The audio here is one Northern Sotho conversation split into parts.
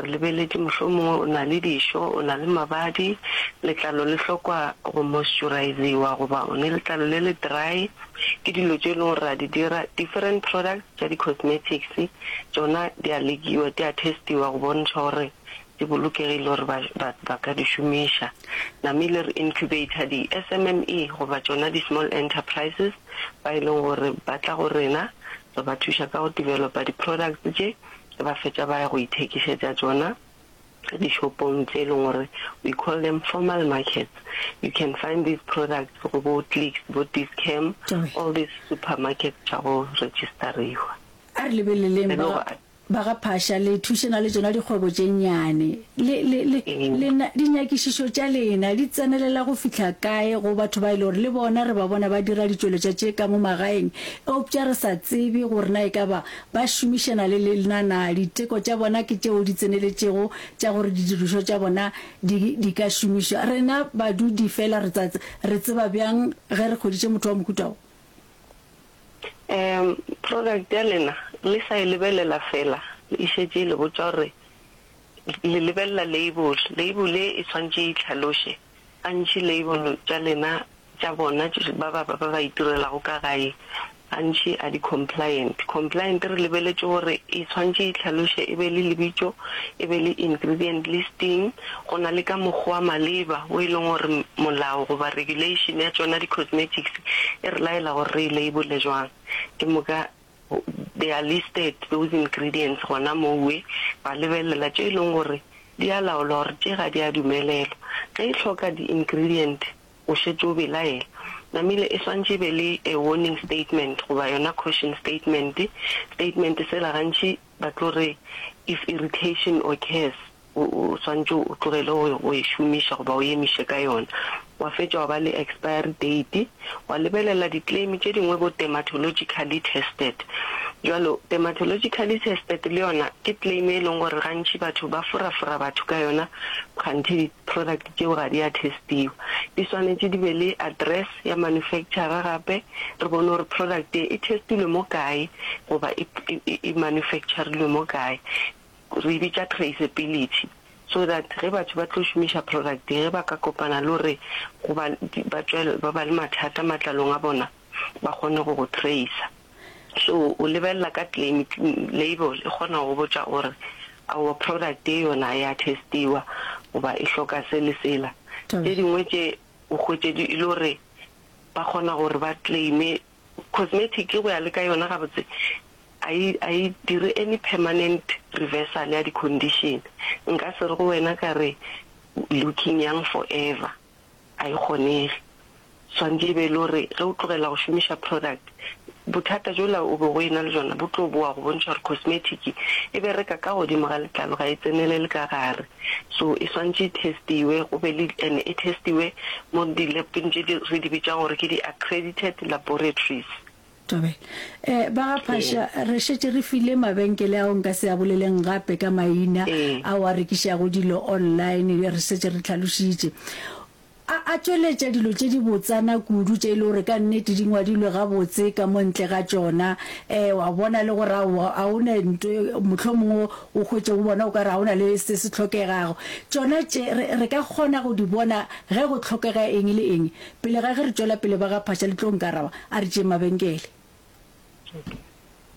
Re lebeletše mohlomongwe o na le dišo, o na le mabadi, letlalo le hlokwa go moisturiziwa goba o ne letlalo le le dry. Ke dilo tše e leng gore ra di dira. Different products tša di-cosmetics tšona di a lekiwa, di a testiwa go bontšha gore di bolokegile gore ba, ba, ba ka di šomiša. Namile re incubator di-SMME goba tšona di-small enterprises ba e leng gore ba tla go rena, re ba thuša ka go developa di-products tše, ba fetša ba ya go ithekišetša tšona dishopong tše e leng gore we call them formal markets. You can find these products go bo Clicks, bo Dis-Chem, all these supermarkets tša go register-iwa. A re lebeleleng ba Ba ga Phasha, le thušana le tšona dikgwebo tše nnyane. Le, le, le, lena, dinyakišišo tša lena di tsenelela go fihla kae go batho ba e le gore le bona re ba bona ba dira ditšweletšwa tše ka mo magaeng, eupša re sa tsebe gore na e ka ba ba šomišana le lena na? Diteko tša bona ke tšeo di tseneletšego tša gore didirišwa tša bona di, di ka šomišwa. Rena badudi feela re tsa, re tseba bjang ge re hweditše motho wa mohuta wo? Um product ya lena le sa e lebelela fela e šetše e le botša gore le lebelela label, label e e swanetše e itlhaloše. Gantši label tša lena tša bona ba ba ba ba itirelago ka gae gantši a di compliant. Compliant re lebeletše gore e swanetše e itlhaloše e be le lebitšo, e be le ingredient listing, go na le ka mokgwa wa maleba wo e leng gore molao goba regulation ya tšona di-cosmetics e re laela gore re e label-e jwang. Ke moka they are listed those ingredients gona mowe, ra lebelela tše e leng gore di a laolwa gore tše ga di a dumelelwa. Ge e hloka di-ingredient o šetše o belaela. Namile e swantše e be le a warning statement goba yona caution statement. Statement sela gantši ba tlo re if irritation occurs o o swantše o tlogele go go e šomiša goba o emiše ka yona. Wa fetša wa ba le expiry date, wa lebelela di claim tše dingwe bo dermatologically tested. Bjalo dermatologically tested le yona ke claim e leng gore gantši batho ba forafora batho ka yona kganthe di product tšeo ga di a testiwa. Di swanetše di be le address ya manufacturer gape re bone gore product ye e testilwe mo kae goba e e e manufacturilwe mo kae. Re e bitša traceability so that ge batho ba tlo šomiša product ye ge ba ka kopana le gore goba ba tšwela ba ba le mathata matlalong a bona ba kgone go go tracer. So o lebelela ka claim label e kgona go go botša gore aowa product ye yona ya testiwa goba e hloka se le sela. Tše dingwe tše o hwetše di e le gore ba kgona gore ba claime cosmetic go ya le ka yona gabotse a e a e dire any permanent reversal ya di condition. Nka se re go wena ka re looking young forever. A e kgonege. Swantše e be e le gore ge o tlogela go šomiša product, bothata bjola o bego o e na le bjona bo tlo boa go bontšha gore cosmetic e bereka ka godimo ga letlalo ga e tsenelele ka gare. So e swantše e testiwe go be le and e testiwe mo di-lab-eng tše di re di bitšang gore ke di-accredited laboratories. Thobela. Eh, ba ga Phasha, re šetše re file mabenkele ao nka se a boleleng gape ka maina ao a rekišago dilo online, re šetše re hlalošitše. A, a tšweletša dilo tše di botsana kudu tše e le gore ka nnete di ngwadilwe gabotse ka mo ntle ga tšona. Eh, wa bona le gore aowa, ga o ne nto, mohlomongwe o hwetše go bona o ka re ga o na le se se hlokegago. Tšona tše, re, re ka kgona go di bona ge go hlokega eng le eng. Pele ga ge re tšwela pele ba ga Phasha le tlo nkaraba, a re tšeeng mabenkele.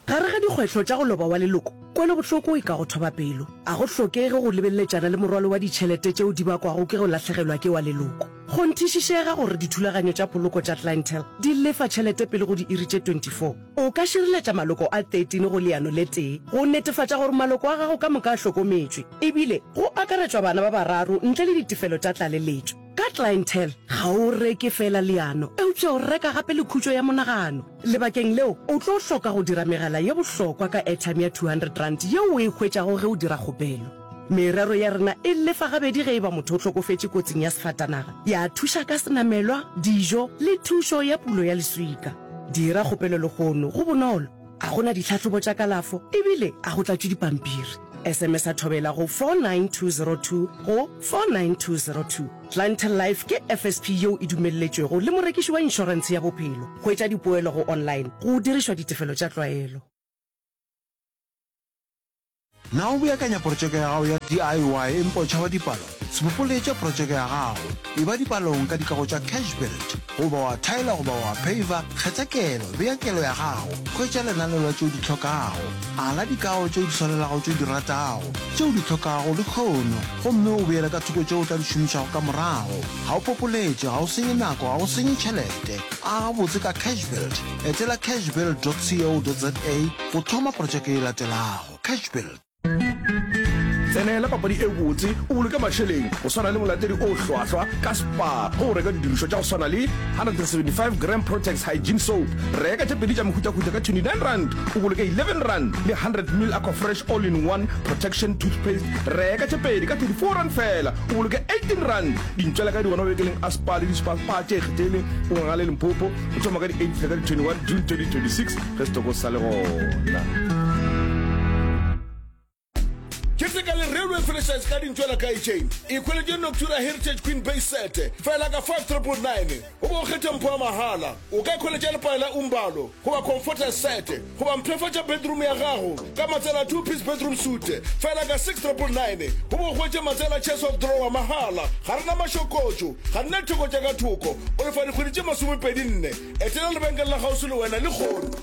Gare ga dikgwehlo tša go loba wa leloko, kwelobohloko e ka go thoba pelo. A go hlokege go lebeleletšana le morwalo wa ditšhelete tšeo di bakwago ke go lahlegelwa ke wa leloko. Kgonthišišega gore dithulaganyo tša poloko tša Clientele di lefa tšhelete pele go diiri tše 24. O ka šireletša maloko a 13 go leano le tee go netefatša gore maloko a gago ka moka a hlokometšwe, ebile go akaretšwa bana ba bararo ntle le ditefelo tša tlaleletšo. Ka Clientele, ga o reke feela leano, eupša o reka gape le khutšo ya monagano. Lebakeng leo, o tlo hloka go dira megala ye bohlokwa ka airtime ya R200 yeo o e hwetšago ge o dira kgopelo. Merero ya rena e lefa gabedi ge e ba motho o hlokofetše kotsing ya sefatanaga, ya thuša ka senamelwa, dijo le thušo ya pulo ya leswika. Dira kgopelo lehono, go bonolo, ga go na ditlhahlobo tša kalafo ebile ga go tlatšwe dipampiri. SMS-a Thobela go 49202 go 49202. Clientele Life ke FSP yeo e dumelletšwego le morekiši wa inšorentshe ya bophelo. Hwetša dipoelo go online go dirišwa ditefelo tša tlwaelo. Na o beakanya protšeke ya gago ya DIY empa o tšhaba dipalo? Se popoletše protšeke ya gago. Eba dipalong ka dikago tša Cashbuild. Goba wa thaela goba wa phaver, kgetha kelo, bea kelo ya gago, hwetša lenaneo la tše o di hlokago, ala dikago tše o di swanelago tše o di ratago, tše o di hlokago lehono, gomme o beele ka thoko tše o tla di šomišago ka morago. Ga o popoletše, ga o senye nako, ga o senye tšhelete. Aga botse ka Cashbuild. Etela cashbuild dot co dot za go thoma protšeke e latelago. Cashbuild. Tsenela papadi e botse o boloke mašeleng go swana le molatedi o hlwahlwa ka Spar ge o reka didirišwa tša go swana le 175 gram Protex Hygiene Soap. Reka tše pedi tša mehutahuta ka R29 o boloke R11 le 100 ml Aquafresh All-in-One Protection Toothpaste. Reka tše pedi ka R34 feela o boloke R18. Dintšwela ka di gona mabenkeleng a Spar le di-Spar Spar tše ikgethileng go Ngangale Limpopo go thoma ka di 8 fihla ka di 21 June 2026 ge setoko se sa le gona. Keteka le Railway Furnishers ka dintšwela ka itšeng. Ikhweletše Noctura Heritage Queen Base Set fela ka 5999 goba o kgethe mpho ya mahala. O ka ikhweletša lepae la Umbalo goba Comforter Set goba mpshafatša bedroom ya gago ka matsela a two piece bedroom suite fela ka 6999 goba o hwetše matsela chest of drawer mahala. Ga re na mašokotšo, ga re na ditheko tša ka thoko. O lefa dikgwedi tše masomepedi-nne. Etela lebenkele la kgauswi le wena lehono.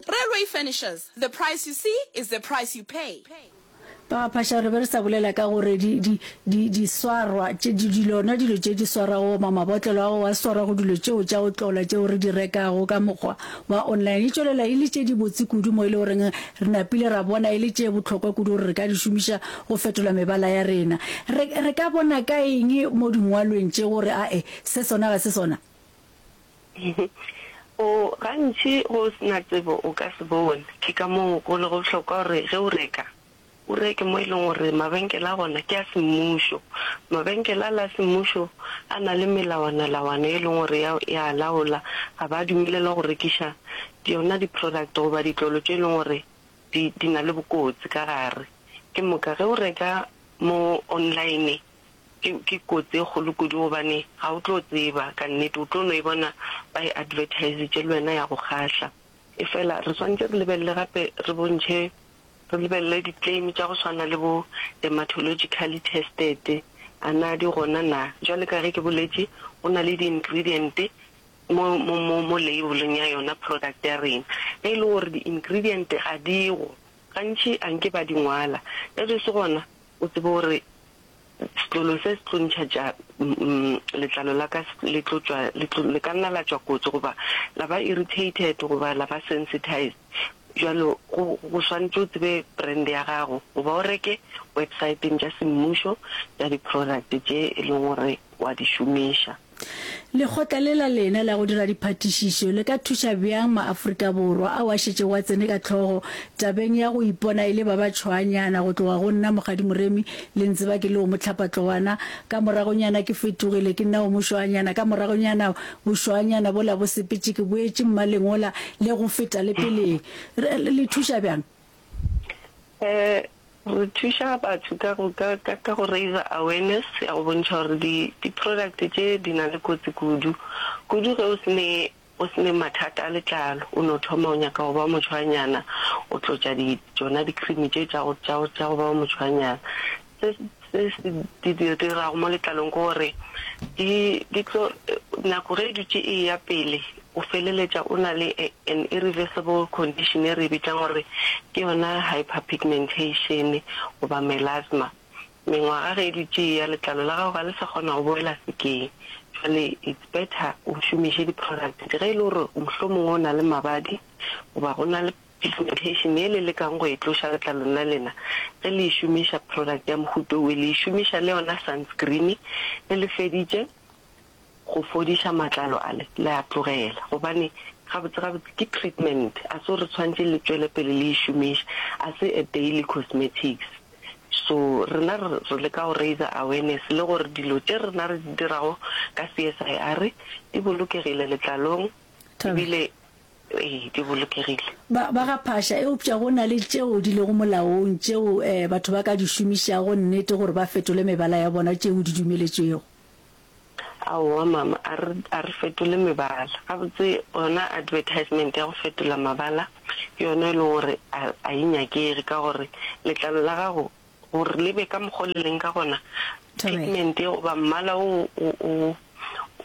Railway Furnishers, the price you see is the price you pay. Ba Phasha re be re sa bolela ka gore di, di, di, diswarwa tše, di, dilona dilo tše di swarago goba mabotlelo ao a swarago dilo tšeo tša go tlola tšeo re di rekago ka mokgwa wa online e tšwelela e le tše dibotse kudu mo e le goreng re napile ra bona e le tše bohlokwa kudu gore re ka di šomiša go fetola mebala ya rena. Re, re ka bona ka eng mo dingwalweng tše gore ae se sona ga se sona? O, gantši ge o se na tsebo o ka se bone. Ke ka moo go lego bohlokwa gore ge o reka, o reke mo e leng gore mabenkele a gona ke a semmušo. Mabenkele ale a semmušo a na le melawanalawana e leng gore ya, ya a laola, ga ba dumelelwa go rekiša yona di-product goba ditlolo tše e leng gore di, di na le bokotsi ka gare. Ke moka ge o reka mo online, Ke, ke kotsi e kgolo kudu gobane ga o tlo tseba ka nnete, o tlo no e bona ba e advertisitše le wena ya go kgahla. Efela re swanetše re lebelele gape re bontšhe, re lebelele di-claim tša go swana le bo dermatologically tested, a na di gona na? Bjale ka ge ke boletše, go na le di-ingredient mo, mo, mo, mo label-eng ya yona product ya rena. Ge e le gore di-ingredient ga di go, gantši a nke ba di ngwala. Ge di se gona, o tsebe gore Setlolo se se tlo ntšha tša letlalo la ka le tlo tšwa le tlo le ka nna la tšwa kotsi goba la ba irritated goba la ba sensitized. Bjalo go go swanetše o tsebe brand ya gago goba o reke websaeteng tša semmušo tša di-product tše e leng gore wa di šomiša. Lekgotla le la lena la go dira diphatišišo le ka thuša bjang maAfrika Borwa ao a šetšego a tsene ka hlogo tabeng ya go ipona e le ba ba tšhwaanyana go tloga go nna Mokgadi Moremi le ntseba ke le o mohlapatlowana ka moragonyana ke fetogile ke nna o mošwaanyana ka moragonyana bošwaanyana bola bo sepetše ke boetše mmaleng wola le go feta le peleng le thuša bjang? Eh, Re thuša batho ka go ka ka ka go raiser awareness ya go bontšha gore di di product tše di na le kotsi kudu. Kudu ge o se ne o se ne mathata a letlalo, o no thoma o nyaka go ba motšhwanyana, o tlotša di tšona di cream tše tša go tša go tša go ba motšhwanyana. Se se se di di dirago mo letlalong ke gore di di tlo nako ge e dutše e eya pele o feleletša o na le an irreversible condition e re e bitšang gore ke yona hyperpigmentation goba melasma. Mengwaga ge e dutše e eya letlalo la gago ga le sa kgona go boela sekeng. Jwale it's better o šomiše di-product ge e le gore mohlomongwe o na le mabadi goba go na le Pigmentation ye le lekang go e tloša letlalong la lena ge le e šomiša product ya mohuta owe, le e šomiša le yona sunscreen ge le feditše go fodiša matlalo ale le a tlogela gobane gabotse gabotse ke treatment a se gore tshwantše le tšwele pele le e šomiša a se a daily cosmetics. So rena re re leka go raiser awareness le gore dilo tše rena re di dirago ka CSIR di bolokegile letlalong ebile Ee, di bolokegile. Ba, ba ga Phasha, eupša go na le tšeo di lego molaong tšeo eh, batho ba ka di šomišago nnete gore ba fetole mebala ya bona tšeo di dumeletšwego. Aowa mama, a re, a re fetole mebala. Gabotse yona advertisement ya go fetola mabala ke yona e leng gore a, a e nyakege ka gore letlalo la gago gore le be ka mokgwa o le leng ka gona, Thobela. pigment goba mmala wo o, o,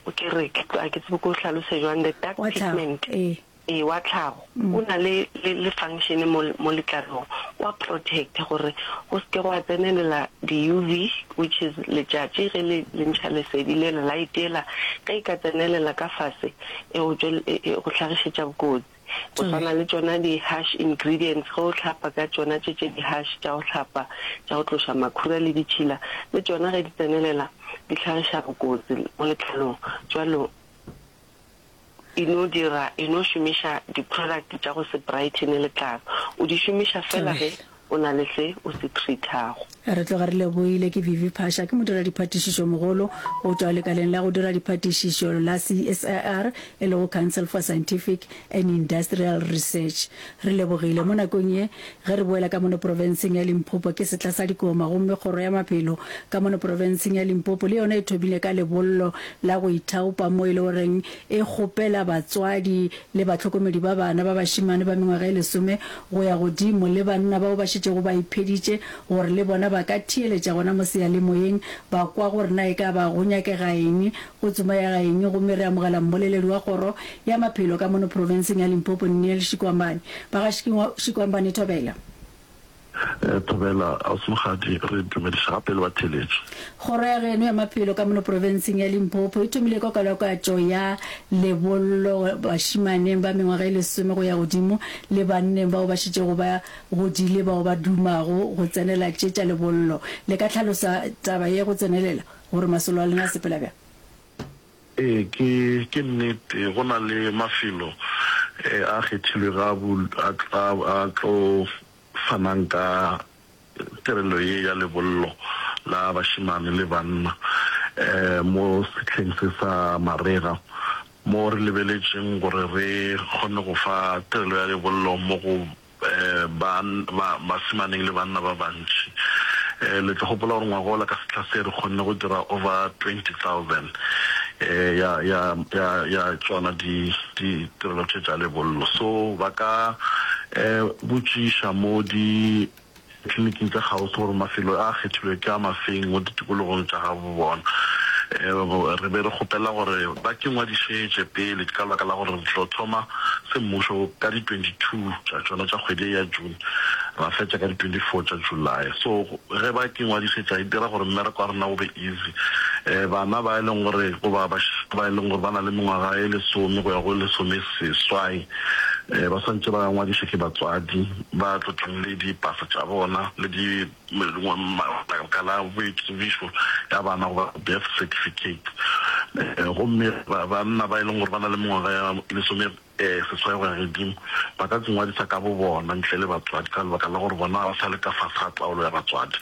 o, ke re, ke, ga ke tsebe ke o hlalose jwang, the dark Wa tlhago, pigment. ee. Ee, wa tlhago o na le, le, le function mo, mo letlalong. O a protecta gore go se ke gwa tsenelela di-U_V, which is letšatši ge le, le ntšha lesedi lela, light yela, ge e ka tsenelela ka fase e go tšwel, e, e go hlagišetša bokotsi. Go swana le tšona di-harsh ingredients, ge o hlapa ka tšona tše, tše di-harsh tša go hlapa, tša go tloša makhura le ditšhila, le tšona ge di tsenelela di hlagiša bokotsi mo letlalong. Bjalo. E no dira, e no šomiša di-product tša go se brightene letlalo. O di šomiša feela ge o na le se o se treat-ago. Re tloga re lebohile ke Vivi Phasha, ke modiradiphatišišomogolo go tšwa lekaleng la go dira diphatišišo la CSIR, e lego Council for Scientific and Industrial Research. Re lebogile. Mo nakong ye ge re boela ka mono profenseng ya Limpopo ke setla sa dikoma gomme Kgoro ya Maphelo ka mono profenseng ya Limpopo le yona e thomile ka lebollo la go ithaopa mo e le goreng e kgopela batswadi le bahlokomedi ba bana ba bašemane ba mengwaga e lesome go ya godimo le banna bao ba šetšego ba ipheditše gore le bona ba ka theeletša gona mo seyalemoyeng ba kwa gore na e ka ba go nyakega eng, go tsomega eng gomme re amogela mmoleledi wa kgoro ya maphelo ka mono profenseng ya Limpopo Neil Shikwambane. Ba ga Shikwambane Thobela. Thobela, Ausi Mokgadi, re dumediša gape le batheeletši. Kgoro ya geno ya maphelo ka mono profenseng ya Limpopo e thomile ka kalakatšo ya lebollo bašimaneng ba mengwaga e lesome go ya godimo le banneng bao ba šetšego ba godile bao ba dumago go tsenela tše tša lebollo. Le ka hlalosa taba ye go tsenelela gore masolo a lena a sepela bjang? Ee, ke, ke nnete, go na le mafelo a kgethilwego a, a, a tlo fanang ka tirelo ye ya lebollo la bašemane le banna mo sehleng se sa marega, mo re lebeletšeng gore re kgone go fa tirelo ya lebollo mo go ba, ba, basemaneng le banna ba bantši. Le tlo gopola gore ngwagola ka sehla se re kgonne go dira over 20,000 ya, ya, ya, ya tšona di, ditirelo tše tša lebollo. So ba ka botšiša mo di tleliniking tša kgauswi gore mafelo a kgethilwe ke a mafeng mo ditikologong tša gabo bona. Re be re kgopela gore ba ke ngwadišetše pele ka lebaka la gore re tlo thoma semmušo ka di 22 tša tšona tša kgwedi ye ya June ra fetša ka di 24 tša July. So ge ba ke ngwadišetša e dira gore mmereko wa rena o be easy. Bana ba e leng gore goba bašemane ba e leng gore ba na le mengwaga e lesome go ya go lesomeseswai ba swantše ba ngwadišwe ke batswadi ba tlo tlang le dipasa tša bona le di lebaka la boitsebišo ya bana goba birth certificate. Gomme banna ba e leng gore ba na le mengwaga ya lesome seswai go ya godimo ba ka ngwadisa ka bo bona ntle le batswadi ka lebaka la gore bona ba sa le ka fase ga taolo ya batswadi.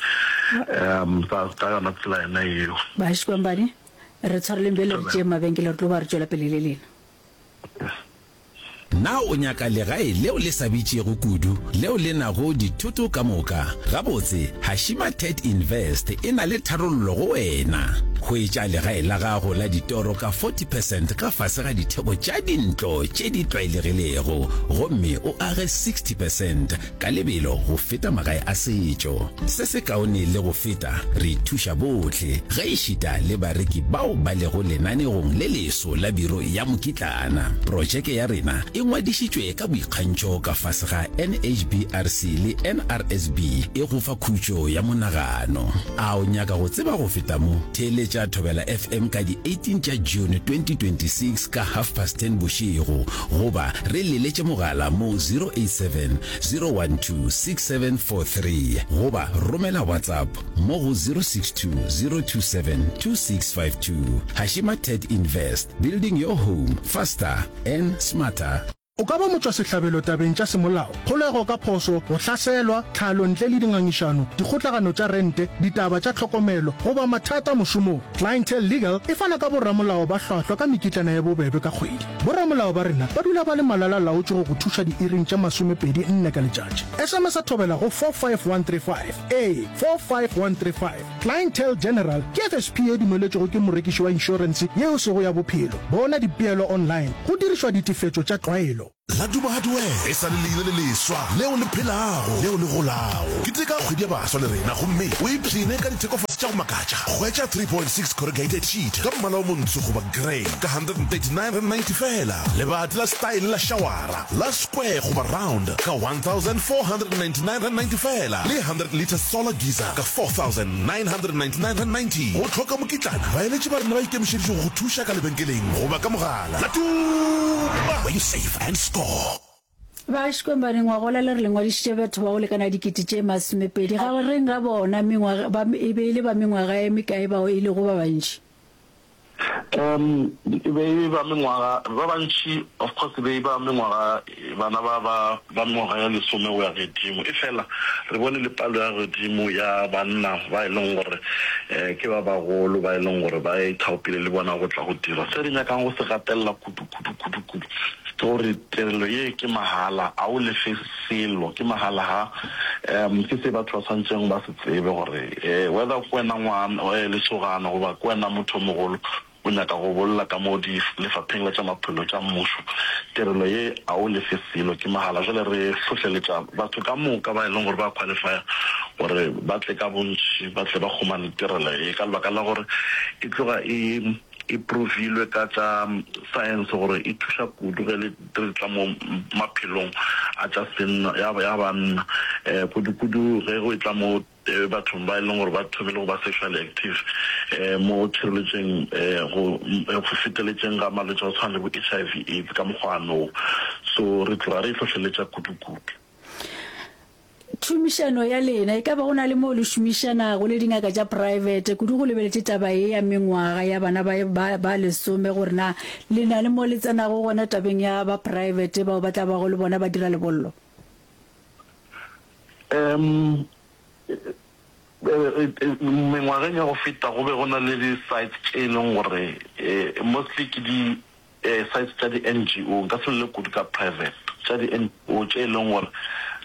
Ka yona tsela yona yeo. Baškwambane, re tshwareleng bjale re tšeeng mabenkele re tlo ba re tšwela pele le lena. Na o nyaka legae leo le sa bitšego kudu leo le nago dithoto ka moka? Gabotse, Hashima Ted Invest e na le tharollo go wena. Hwetša legae la gago la ditoro ka 40 percent ka fase ga ditheko tša dintlo tše di tlwaelegilego gomme o age 60 percent ka lebelo go feta magae a setšo. Se se kaone le go feta, re thuša bohle, gaešita le bareki bao ba lego lenanegong le leso la biro ya mokitlana. Protšeke ya rena e ngwadišitšwe ka boikgantšho ka fase ga NHBRC le NRSB, e go fa khutšo ya monagano. A o nyaka go tseba go feta mo? Theeletša Thobela FM ka di 18 tša June 2026 ka half past ten bošego goba re leletše mogala mo 087 012 6743 goba romela WhatsApp mo go 062 027 2652. Hashima Ted Invest, building your home faster and smarter. O ka ba motšwasehlabelo tabeng tša semolao, kgolego ka phošo, go hlaselwa, tlhalo ntle le dingangišano, dikgotlagano tša rente, ditaba tša tlhokomelo, goba mathata mošomong. Clientele Legal e fana ka boramolao ba hlwahlwa ka mekitlana ye bobebe ka kgwedi. Boramolao ba rena ba dula ba le malala-laotšwe go go thuša diiring tše masomepedi nne ka letšatši. SMS-a Thobela go 45135. Ee, 45135. Clientele General ke FSP ye dumeletšwego ke morekiši wa inšorense ye e sego ya bophelo. Bona dipeelo online go dirišwa ditefetšo tša tlwaelo. Laduma Hardware e sa le leina le leswa leo le phelago, leo le golago. Keteka kgwedi ya baswa le rena gomme o ipshine ka dithekofase tša go makatša. Hwetša 3.6 corrugated sheet ka mmala o montsho goba grey ka R139.90 feela. Lebati la style la šawara la square goba round ka R1,499.90 feela le 100 litre solar geyser ka R4,999.90. Go hloka mokitlana, baeletši ba rena ba ikemišeditše go go thuša ka lebenkeleng goba ka mogala. Laduma, where you save and score. Ba Xikwembane ngwagola le re le ngwadišitše batho ba go lekana dikete tše masomepedi. Gareng ga bona mengwaga, ba, e be e le ba mengwaga e mekae bao e lego ba bantši? Um e be e ba mengwaga, ba bantši of course e be e ba mengwaga, bana ba ba ba mengwaga ya lesome go ya gedimo. Efela re bone le palo ya godimo ya banna ba e leng gore ke ba bagolo ba e leng gore ba ithaopile le bona go tla go dira. Se re nyakang go se gatelela kudu kudu kudu kudu ke gore tirelo ye ke mahala, a o lefe selo, ke mahala ha. Um ke se batho ba swanetšeng ba se tsebe gore whether ke wena ngwana, lesogana goba ke wena motho o mogolo o nyaka go bolla ka mo di lefapheng la tša maphelo tša mmušo, tirelo ye a o lefe selo, ke mahala. Jwale re hlohleletša batho ka moka ba e leng gore ba qualifya gore ba tle ka bontši, ba tle ba humane tirelo ye ka lebaka la gore e tloga e e provilwe ka tša science gore e thuša kudu ge le re tla mo maphelong a tša senna ya ya banna, kudu-kudu ge go etla mo bathong ba e leng gore ba thomile go ba sexually active, mo tšhireletšeng go go feteletšeng ga malwetši a go tshwana le bo HIV AIDS ka mokgwa wo. So re tloga re e hlohleletša kudu-kudu. Tšhomišano ya lena, e ka ba go na le moo le šomišanago le dingaka tša praebete, kudu go lebeletše taba ye ya mengwaga ya bana ba ba ba lesome, gore na le na le mo le tsenago gona tabeng ya ba praebete bao ba tla bago le bona ba dira lebollo? Um, mengwageng ya go feta go be go na le di-sites tše e leng gore mostly ke di Sites tša di-NGO, nka se bolele kudu ka private, tša di-NGO tše e leng gore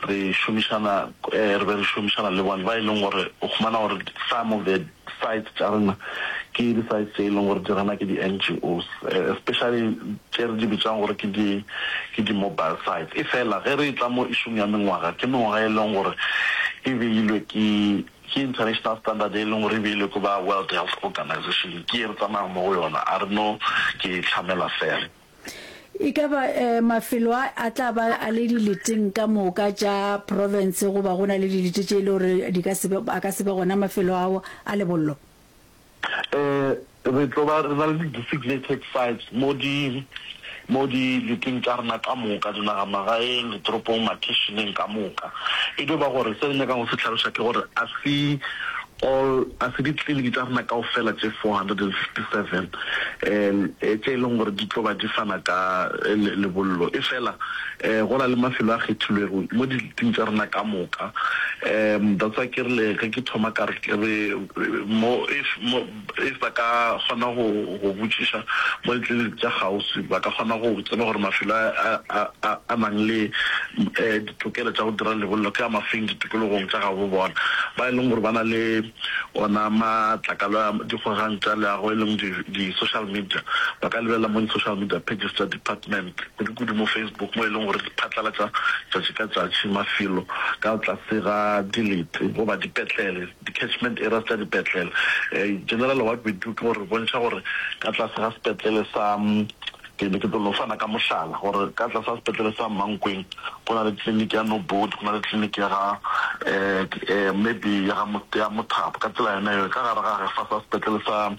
re šomišana, re be re šomišana le bona, ba e leng gore o humana gore some of the sites tša rena ke di-sites tše e leng gore di rana ke di-NGOs, especially tše re di bitšang gore ke di, ke di-mobile sites. Efela ge re etla mo issue-ng ya mengwaga, ke mengwaga e leng gore e beilwe ke Ke international standard e leng gore e beilwe ke ba World Health Organization, ke ye re tsamayang mo go yona, a re no ke e hlamela fela. E ka ba mafelo a a tla ba a le dileteng ka moka tša profense goba go na le dilete tše e le gore di ka se be, a ka se be gona mafelo ao a lebollo? Re tlo ba re na le di-designated sites mo di mo dileteng tša rena ka moka, dinagamagaeng, ditoropong, makheišeneng ka moka. E dio ba gore se re nyakang go se hlaloša ke gore a se all a se ditleliniki tša rena kaofela tše 457 tše e leng gore di tlo ba di fana ka lebollo. Efela go na le mafelo a kgethilwego mo dileteng tša rena ka moka. That's why ke rile ge ke thoma ka re re mo if mo if ba ka kgona go go botšiša mo ditleliniki tša kgauswi ba ka kgona go tseba gore mafelo a a a a nang le ditokelo tša go dira lebollo ke a mafeng ditikologong tša gabo bona. Ba e leng gore ba na le ona matlakalo a dikgogang tša leago e leng di di social media ba ka lebelela mo di social media pages tša department kudu-kudu mo Facebook mo e leng gore di phatlalatša tšatši ka tšatši mafelo ka tlase ga dilete goba dipetlele, di-catchment areas tša dipetlele. Generally what we do ke gore re bontšha gore ka tlase ga sepetlele sa, ke be ke tlo no fana ka mohlala, gore ka tlase ga sepetlele sa Mankweng go na le tleliniki ya Nobody, go na le tleliniki ya ga maybe ya ga ya Mothapo, ka tsela yona yeo. Ka gare ga fa sa sepetlele sa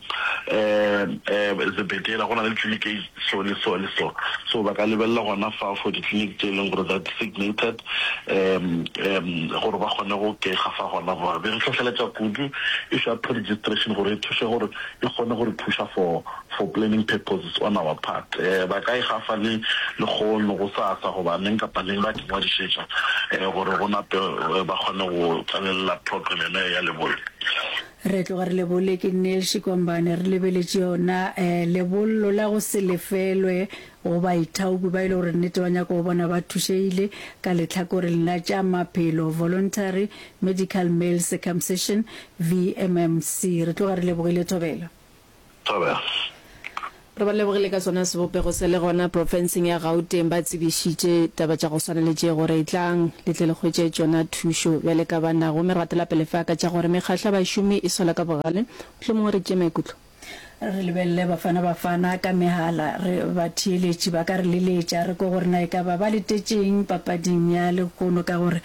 Zebediela go na le tleliniki e so le so le so. So ba ka lebelela gona fa for di-clinic tše e leng gore they're designated um um gore ba kgone go ke gafa gona fa. Be re hlohleletša kudu issue ya pre-registration gore e thuše gore e kgone go re thuša for for planning purposes on our part. Um ba ka e gafa le lekgono, gosasa goba neng kapa neng ba ke ngwadišetša um gore go nape ba kgone go tsenelela program yona ya lebollo. Re tloga re lebole ke Neil Shikwambane re lebeletše yona eh, lebollo la go se lefelwe go baithaopi ba e le gore nnete ba nyaka go bona ba thušegile ka lehlakoreng la tša maphelo, Voluntary Medical Male Circumcision, VMMC. Re tloga re lebogile Thobela. Thobela. Re ba lebogile ka sona sebopego se le gona profenseng ya Gauteng ba tsebišitše taba tša go swana le tše gore etlang le tle le hwetše tšona thušo bjale ka banna gomme re gatela pele fa ka tša gore mekgahlo ya bašomi e sola ka bogale mohlomongwe re tšee maikutlo Re lebelele Bafana Bafana ka mehala, re batheeletši ba ka re leletša re kwe gore na e ka ba ba letetšeng papading ya lehono ka gore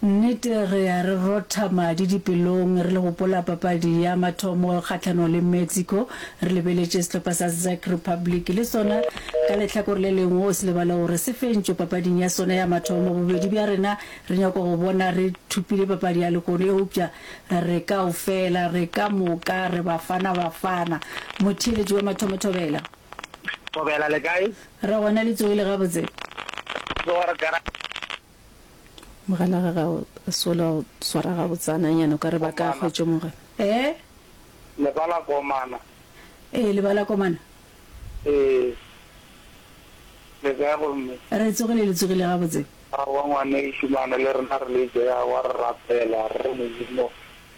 nnete re ya re rotha madi dipelong re le gopola papadi ya mathomo kgahlanong le Mexico re lebeletše sehlopha sa Czech Republic le sona ka lehlakore le lengwe o se lebale gore se fentšwe papading ya sona ya mathomo bobedi bja rena re nyaka go bona re thopile papadi ya lehono eupša Re kaofela, re ka moka, re Bafana Bafana. Motheeletši wa mathomo Thobela. Thobela, le kae? Re gona, le tsogile gabotse? Tsoga re kae? Mogala ga ga o sola o swara gabotsana nyana o ka re ba ka hwetšo moga. Eh? Lebala komana. Ee, lebala komana. Ee. Le kae gomme? Re tsogile, le tsogile gabotse? Aowa ngwanešu mane le rena re le tše aowa re rapela re re Modimo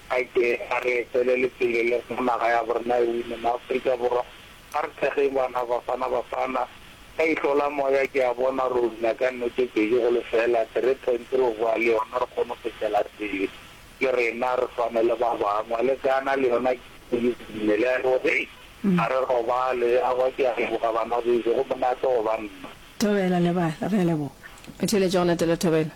a ke a re etelele pele le rena naga ya borena e wine maAfrika Borwa a re thekgeng bana Bafana Bafana ka ihlo la moya ke a bona re wina ka nno tše pedi go lefela three points re boa le yona re kgone go fetela pele le rena re swane le ba bangwe le Ghana le yona ke e wine le a hei ga re robale aowa ke a leboga bana bešo go monate go ba nna. Thobela lebala, re a leboga. O theeletše go latela Thobela.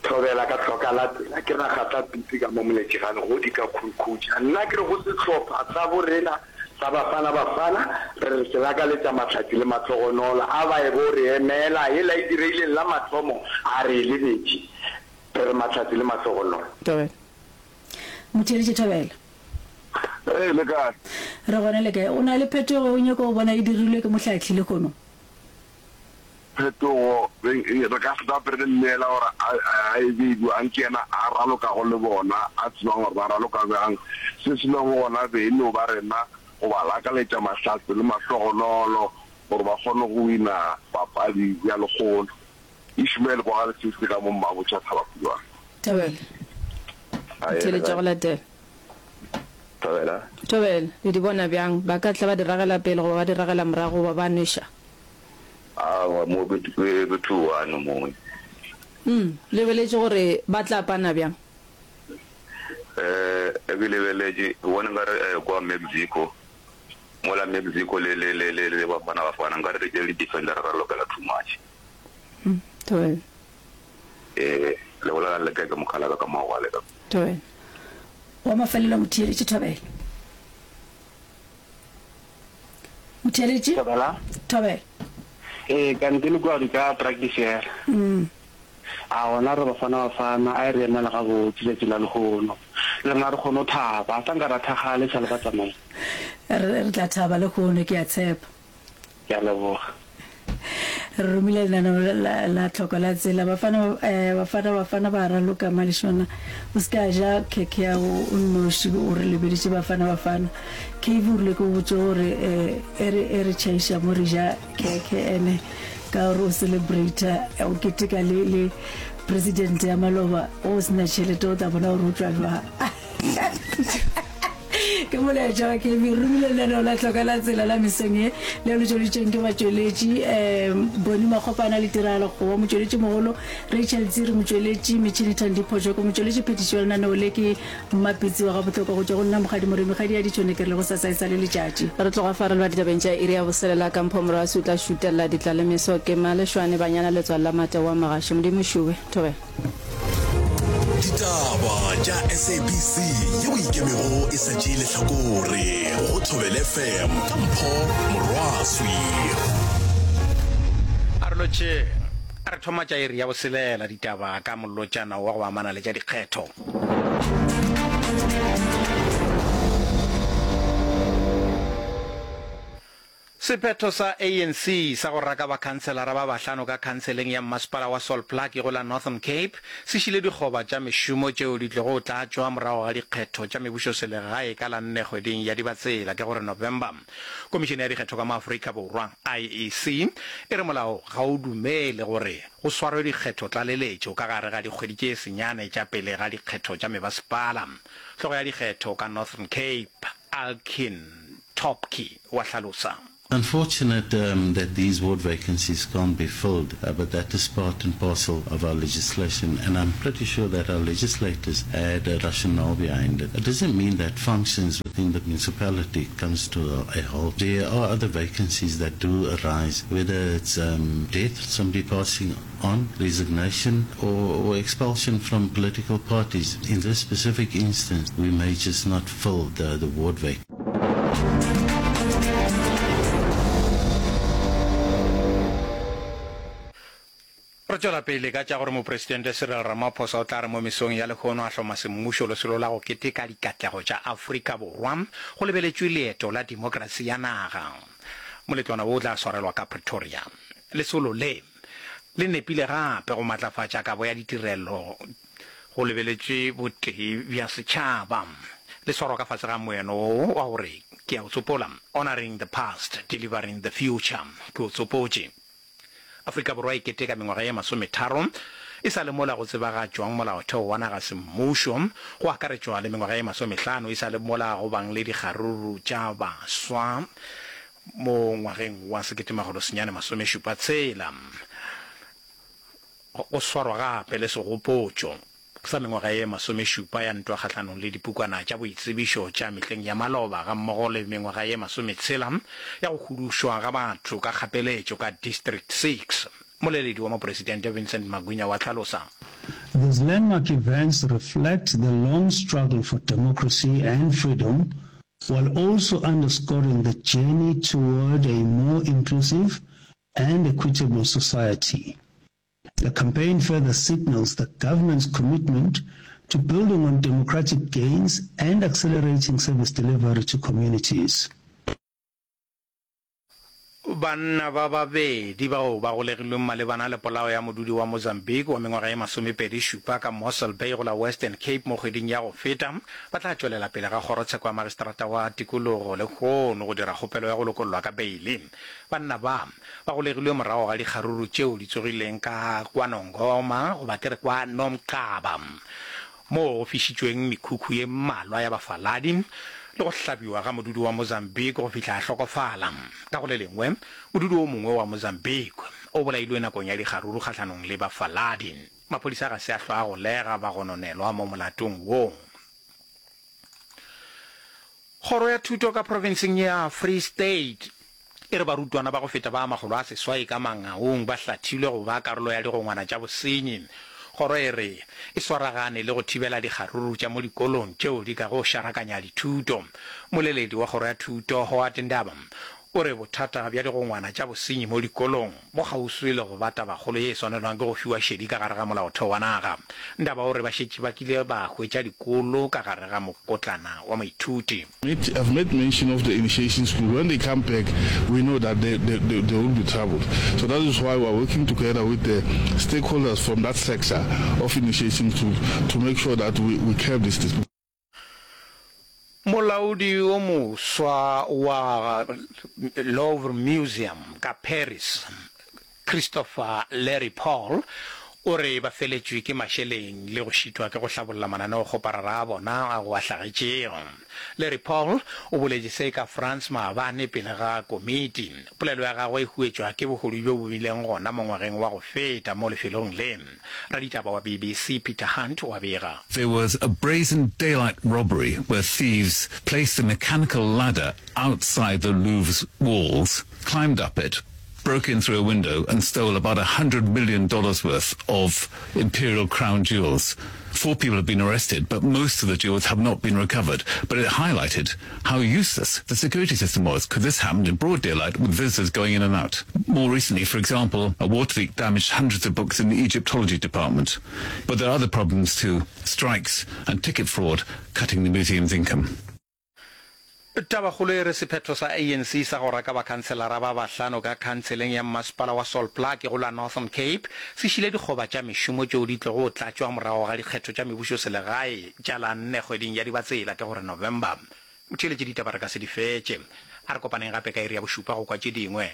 Thobela ka tlhoka la tsela ke ragatla pitsi ka mo moletšegane go di ka khunkhutša nna ke re go sehlopha sa bo rena sa Bafana Bafana re re se lakaletša mahlatsi le mahlogonolo a ba e bo re emela yela e direileng la mathomo a re e lebetše re re mahlatsi le mahlogonolo. Thobela. Motheeletši Thobela. Ee, le kae? Re gona le kae? O na le phetogo o nyaka go bona e dirilwe ke mohlahli lehono? Phetogo, re ka se tape re mmeela gore a e be bjang, ke yena a ralokago le bona, a tsebang gore ba raloka bjang. Se se lego gona be e no ba rena go ba lakaletša mahlatse le mahlogonolo gore ba kgone go wina papadi ya lekgono. Ishmael kwa ga Lesese ka mo Mmabotšha Thabapulwane. Thobela. Aye, Theeletša le kae? go latela. Thobela. Thobela, le di bona bjang? Ba ka tla ba di ragela pele goba ba di ragela morago goba ba nweša? Aowa, mo ke, ke, ke 2-1 mo. Umm, lebeletše gore ba tla pana bjang? Eh, ke lebeletše, ke bona nkare eh, kwa Mexico, mola Mexico le, le, le, le, le Bafana Bafana, nkare re tšere di-defender ra lokela too much. Umm, Thobela. Eh, le bolela le kae ka mokgalaka ka maoba le ka. Thobela. Wa mafelelo motheeletši Thobela. Motheeletši? Thobela. Thobela. Ee, kante le kua ka practice yela. Mm. A gona re Bafana Bafana, a e re emela gabotse tšatši la lehono. Le rena re kgone go thaba, a sa nka ra thakgala e sa le ba tsamaile. Re, re tla thaba lehono, ke a tshepa. Ke a leboga. Re romile lenaneo la, la tlhoko la tsela. Bafana, eh, bafana, bafana ba raloka Malešwana. O se ke a ja khekhe ya go o nnoši, o re lebeditše Bafana Bafana. Cave o rile ke o botše gore, eh, e re, e re tšhaiša mo re ja khekhe ene ka gore o celebrata, o keteka le, le president ya maloba, o se na tšhelete o tla bona gore o tšwa jwang. Ke molaetša wa KB. Re romile lenaneo la Tlhoka la Tsela la mesong ye leo le tšweleditšweng ke batšweletši um Boni Makgopana le Tiragalo Kgowa, motšweletši mogolo Rachel Tsiri, motšweletši Metšhini Thandi Phojoko, motšweletši phethiši wa lenaneo le ke Mmapitsi wa Gabohlokwa. Go tšwa go nna Mokgadi Moremi Kgadi ya Ditšhone ke re le gosasa e sa le letšatši. Re tloga fa re leba ditabeng tša iri ya boselela ka Mpho Morwasi o tla šutella ditlalemeso ke Malešwane Banyana Letswalo la Mate wa Magaši Modimo Šube Thobela. Ditaba tša SABC yeo e ikemego e sa tšee lehlakore go Thobela FM ka Mpho Morwaswi. A re lotšheng. A re thoma tša iri ya boselela ditaba ka mollotšana wa go amana le tša dikgetho. Sephetho sa ANC sa go raka bakhanselara ba bahlano ka khanseleng ya mmasepala wa Sol Plaatje go la Northern Cape se šile dikgoba tša mešomo tšeo di tlogo tlatšwa morago ga dikgetho tša mebušoselegae ka la nne kgweding ya Dibatsela, ke gore November. Komišene ya Dikgetho ka mo Afrika Borwa, IEC, e re molao ga o dumele gore go swarwe dikgetho-tlaleletšo ka gare ga dikgwedi tše senyane tša pele ga dikgetho tša mebasepala. Hlogo ya dikgetho ka Northern Cape, Alkin Topki wa hlalosa. Unfortunate um, that these ward vacancies can't be filled, uh, but that is part and parcel of our legislation, and I'm pretty sure that our legislators had a rationale behind it. It doesn't mean that functions within the municipality comes to a, a halt. There are other vacancies that do arise, whether it's um, death, somebody passing on, resignation, or, or expulsion from political parties. In this specific instance, we may just not fill the, the ward vacancy. Re tšwela pele ka tša gore Mopresidente Cyril Ramaphosa o tla re mo mesong ya lehono a hloma semmušo lesolo la go keteka dikatlego tša Afrika Borwa go lebeletšwe leeto la demokrasi ya naga. Moletlwana wo o tla swarelwa ka Pretoria. Lesolo le le nepile gape go matlafatša kabo ya ditirelo go lebeletšwe botee bja setšhaba. Le swarwa ka fase ga moeno wo wa gore, Ke a o tsopola, Honouring the Past, Delivering the Future. Ke o tsopotše. Afrika Borwa e keteka mengwaga ye masometharo e sa le mola go tsebagatšwang Molaotheo wa naga semmušo, go akaretšwa le mengwaga ye masomehlano e sa le mola go bang le dikgaruru tša baswa mo ngwageng wa 1976. Go swarwa gape le segopotšo sa mengwaga ye masomešupa ya ntwa kgahlanong le dipukwana tša boitsebišo tša mehleng ya maloba gammogo le mengwaga ye masometshela ya go hudušwa ga batho ka kgapeletšo ka District Six. Moleledi wa Mopresidente Vincent Magwinya wa hlalosa. These landmark events reflect the long struggle for democracy and freedom while also underscoring the journey toward a more inclusive and equitable society. The campaign further signals the government's commitment to building on democratic gains and accelerating service delivery to communities. Banna ba babedi bao ba golegilweng malebana le polao ya modudi wa Mozambique wa mengwaga ye masomepedi šupa ka Mossel Bay go la Western Cape mo kgweding ya go feta ba tla tšwelela pele ga kgorotsheko ya magistrata wa tikologo lehono go dira kgopelo ya go lokollwa ka beile. Banna ba ba golegilwe morago ga dikgaruru tšeo di tsogileng ka KwaNongoma goba ke re kwa Nomqaba moo go fišitšweng mekhukhu ye mmalwa ya bafaladi le go hlabiwa ga modudi wa Mozambique go fihla a hlokofala. Ka go le lengwe, modudi o mongwe wa Mozambique o bolailwe nakong ya dikgaruru kgahlanong le bafaladi. Maphodisa ga se a hlwa a golega bagononelwa mo molatong wo. Kgoro ya Thuto ka profenseng ya Free State e re barutwana ba go feta ba makgolo a seswai ka Mangaung ba hlathilwe go ba karolo ya digongwana tša bosenyi. Kgoro e re e swaragane le go thibela dikgaruru tša mo dikolong tšeo di kago šarakanya dithuto. Moleledi wa Kgoro ya Thuto, Howard Ndaba, o re bothata bja digongwana tša bosenyi mo dikolong bo kgauswi le go ba tabakgolo ye e swanelwang ke go fiwa šedi ka gare ga molaotheo wa naga. Ndaba o re ba šetše ba kile ba hwetša dikolo ka gare ga mokotlana wa moithuti. I've made mention of the initiation school, when they come back we know that there, there, there, there will be trouble. So that is why we are working together with the stakeholders from that sector of initiation school to make sure that we, we curb this thing. Molaodi yo moswa wa Louvre Museum ka Paris, Christopher Larry Paul, o re ba feletšwe ke mašeleng le go šitwa ke go hlabolla mananeokgoparara a bona a go a hlagetšego. Larry Paul o boletše se ka France maabane pele ga komiti. Polelo ya gagwe e huetšwa ke bohodu bjo bo bileng gona mo ngwageng wa go feta mo lefelong le. Raditaba wa BBC Peter Hunt o a bega. There was a brazen daylight robbery where thieves placed a mechanical ladder outside the Louvre's walls, climbed up it, broke in through a window and stole about $100 million worth of imperial crown jewels. Four people have been arrested, but most of the jewels have not been recovered. But it highlighted how useless the security system was, because this happened in broad daylight with visitors going in and out. More recently, for example, a water leak damaged hundreds of books in the Egyptology department. But there are other problems too, strikes and ticket fraud cutting the museum's income. Tabakgolo e re sephetho sa ANC sa go raka bakhanselara ba bahlano ka khanseleng ya mmasepala wa Sol Plaatje go la Northern Cape se šile dikgoba tša mešomo tšeo di tlogo tlatšwa morago ga dikgetho tša mebušoselegae tša la nne kgweding ya Dibatsela, ke gore November. Motheeletši ditaba re ka se di fetše. A re kopaneng gape ka iri ya bošupa go kwa tše dingwe.